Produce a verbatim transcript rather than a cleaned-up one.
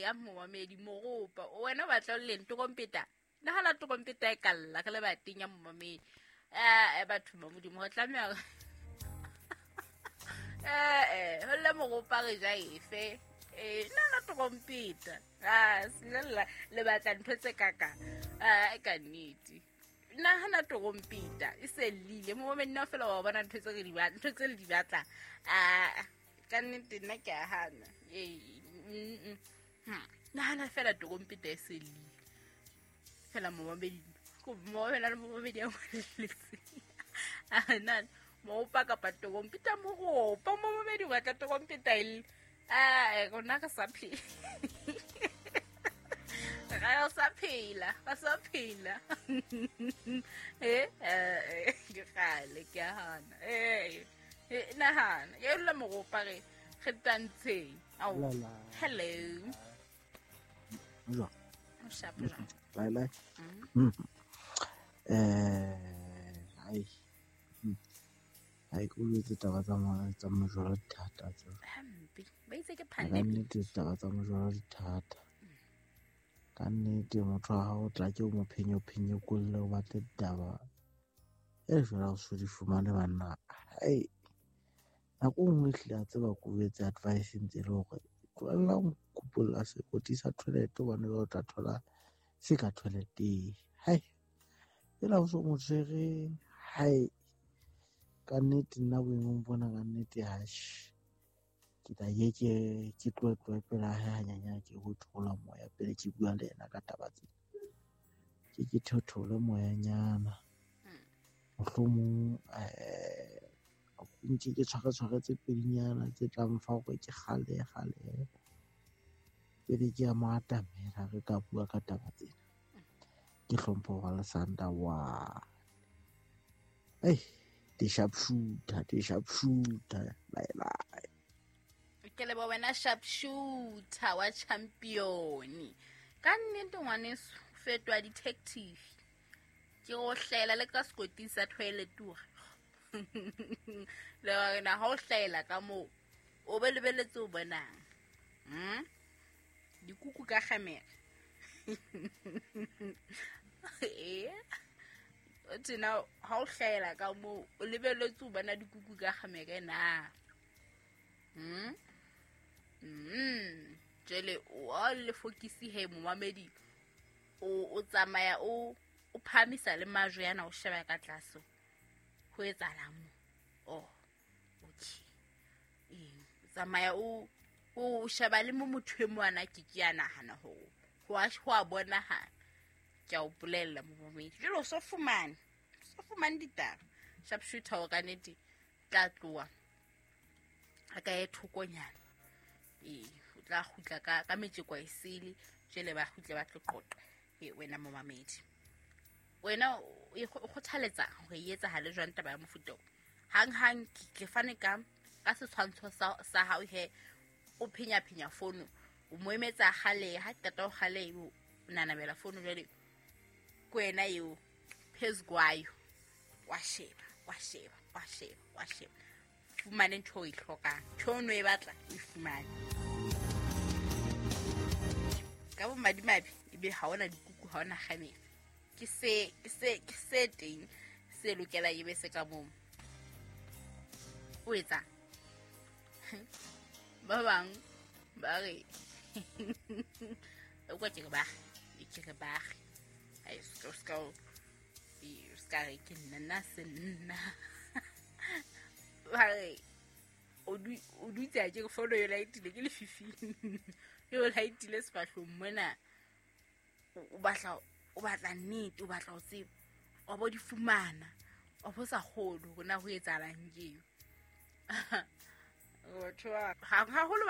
Eya momamedi moropa wena o batla o leng terompeta nagana terompeta e ka lla re le bateng ya momamedi. Eh batho ba modimo go tlameha eh eh ho le moropa re ja efe eh nna terompeta ah slela le batla ntho tse kaka ah ka nnete nagana terompeta e se lile momamedi nna fela wa bona ntho tse re di batla ntho tse le di batla ah ka nnete nna ke a hana eh nagana fela terompeta e se lile fela momamedi ko mo fela le momamedi a ngwaletse a na mo pa kapa terompeta moropa momamedi o batla terompeta e ah rona re sa phela re sa phela re sa phela eh eh ke kgale ke a hana eh nahana ke la moropa re re tantsheng ao hello jwa o shapo jwa bye bye eh ai ai ko le taba tsa tsa mojolo thata tsa hampe ba itse ke pandemic nnete taba tsa mojolo thata ka nnete motho ha o tla ke o mo phenyo phenyo kolle o batle ditaba e jwala o so di fumane banna ai nako nngwe ehlile a tseba ko etse advice ntse le hore tlohella ho kupolla sekoti sa toilet hobane o tla thola se ka toileteng hai ela o so mo tshwere hai ka nnete nna boemong bona ka nnete hash ke tla ye ke ke tlohe tlohe pela hae hanyane ke ho thola moya pele ke bua le yena ka taba tsena ke ke theothole moyanyana mohlomong eh nke ke tshware tshware tse pedinyana tse tlang fa hore ke kgale kgale pele ke a mo atamela re ka bua ka taba tsena ke hlompho wa Lesanda wa ei di sharpshooter di sharpshooter bye bye ke leboha wena sharpshooter wa champion ka nnete ngwaneso fetoha detective ke go hlela le ka sekoti sa toilet le wena ha o hlela ka moo o be lebeletse o bonang mm dikuku ka kgamela eh o tsena ha o hlela ka moo o lebeletse o bona dikuku ka kgamela na mm mm jele o le fokisi he momamedi o o tsamaya o o phamisa le majwe yana o sheba ka tlase ho etsahala mo oh okay eh tsamaya o o sheba le mo motho e mwana ke ke ya nahana ho ho a ho a bonahala ke a o bolella momamedi jelo so fumane so fumane ditaba sharpshooter o ka nete tla tloa a ka e thokonyana eh o tla kgutla ka ka metjeko e sele jele ba kgutle ba tlo qoqa e wena momamedi wena o kgothaletsa hore e etsahale jwang taba ya mofuta o hang hang ke fane ka ka setshwantsho sa sa hao he o phenya phenya fono o mo emetsa kgale ha qeta o kgale o nanabela fono jwale ke wena eo phezukwayo wa sheba wa sheba wa sheba wa sheba fumane ntho o e hlokang ntho o no e batla o e fumane ka bo madimabe ebe ha ona dikuku ha ona kgamela ke se ke se ke se teng se lokela ebe se ka moo o etsa ba bang ba re o kwa ke ba ke re ba ai ska ska ska re ke nna nna se nna ba re o du o dutse a ke fono yo laetile ke lefifi yo laetile sefahlong mona o batla o batla nnete o batla ho tseba o bo di fumana o bo sa kgolo hore na ho etsahalang ke eo batho haholo